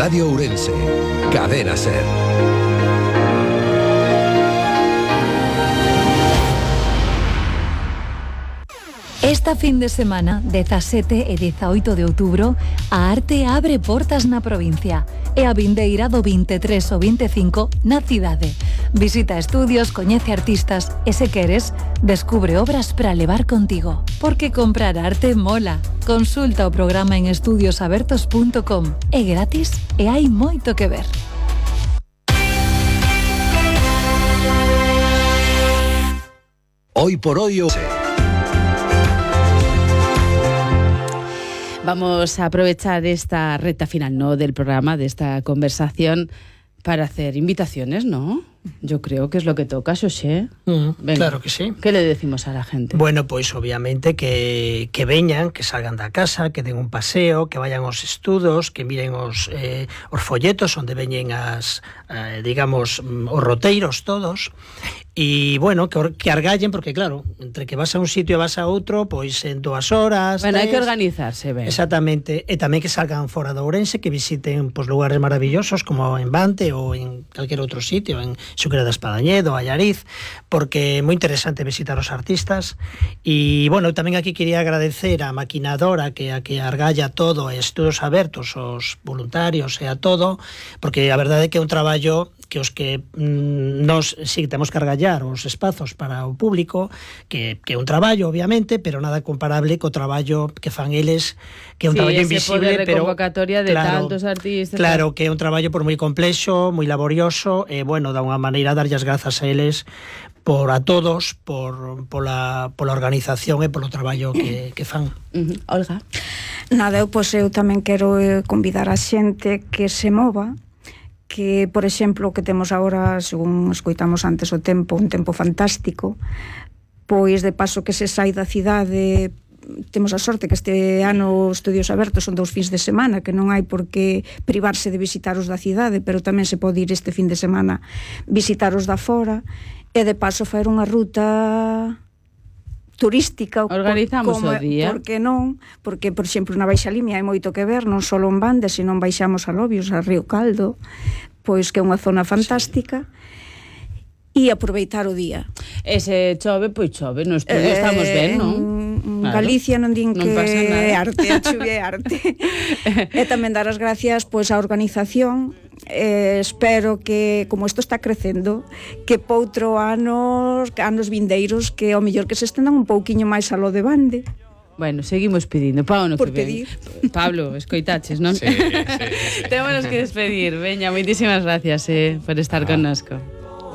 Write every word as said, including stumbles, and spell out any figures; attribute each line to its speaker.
Speaker 1: Radio Ourense, Cadena Ser.
Speaker 2: Esta fin de semana, dezasete e dezaoito de outubro, a arte abre portas na provincia e a vindeira do vinte e tres ao vinte e cinco na cidade. Visita estudios, coñece artistas e, se queres, descubre obras para levar contigo. Porque comprar arte mola. Consulta o programa en estudios abertos punto com. É gratis e hai moito que ver.
Speaker 1: Hoy por hoy...
Speaker 3: Vamos a aprovechar esta recta final, ¿no?, del programa, de esta conversación, para hacer invitaciones, ¿no? Yo creo que es lo que toca, Xosé.
Speaker 4: Mm, claro que sí.
Speaker 3: ¿Qué le decimos a la gente?
Speaker 4: Bueno, pues obviamente que, que veñan, que salgan da casa, que den un paseo, que vayan aos estudos, que miren os, eh, os folletos onde veñen as, eh, digamos, os roteiros todos. E, bueno, que, que argallen, porque, claro, entre que vas a un sitio e vas a outro, pois en dúas horas...
Speaker 3: Bueno,
Speaker 4: tres,
Speaker 3: hai que organizarse, ben.
Speaker 4: Exactamente. E tamén que salgan fora de Ourense, que visiten pois, lugares maravillosos, como en Bante ou en calquer outro sitio, en Xuquera de Espadañedo, Allariz, porque é moi interesante visitar os artistas. E, bueno, tamén aquí quería agradecer a maquinadora que a que argalla todo, e estudos abertos, os voluntarios e a todo, porque a verdade é que é un traballo que os que mm, nos si temos que argallar os espazos para o público, que, que é un traballo, obviamente, pero nada comparable co traballo que fan eles, que é un
Speaker 3: sí,
Speaker 4: traballo
Speaker 3: ese
Speaker 4: invisible,
Speaker 3: poder de
Speaker 4: pero
Speaker 3: convocatoria de
Speaker 4: claro,
Speaker 3: tantos artistas.
Speaker 4: Claro, que é un traballo por moi complexo, moi laborioso, e, bueno, da unha maneira darlle as grazas a eles por a todos, por pola, pola organización e polo traballo que, que fan.
Speaker 3: Uh-huh. Olga?
Speaker 5: Nada, eu, pois, eu tamén quero convidar a xente que se mova, que, por exemplo, que temos agora, según escoitamos antes o tempo, un tempo fantástico, pois de paso que se sai da cidade. Temos a sorte que este ano os estudios abertos son dous fins de semana, que non hai por que privarse de visitar os da cidade, pero tamén se pode ir este fin de semana visitar os da fora, e de paso faer unha ruta turística.
Speaker 3: Organizamos
Speaker 5: como,
Speaker 3: o día.
Speaker 5: Porque non? Porque, por exemplo, na Baixa Limia hai moito que ver, non só en Bande, sino baixamos a Lobios, a Río Caldo, pois que é unha zona fantástica. Sí. E aproveitar o día.
Speaker 3: E se chove, pois chove, no estudio eh, estamos ben, non?
Speaker 5: En claro. Galicia non din non que é arte, a chuvia é arte. E tamén dar as gracias pois á organización. Eh, espero que, como isto está crecendo, que poutro anos, anos vindeiros, que ao mellor que se estendan un pouquiño máis a lo de Bande.
Speaker 3: Bueno, seguimos pedindo, pa ano
Speaker 5: por
Speaker 3: que
Speaker 5: pedir.
Speaker 3: Ven. Pablo, escoitaches, non?
Speaker 6: Sí, sí, sí.
Speaker 3: Témonos que despedir. Veña, moitísimas gracias eh, por estar ah. connosco.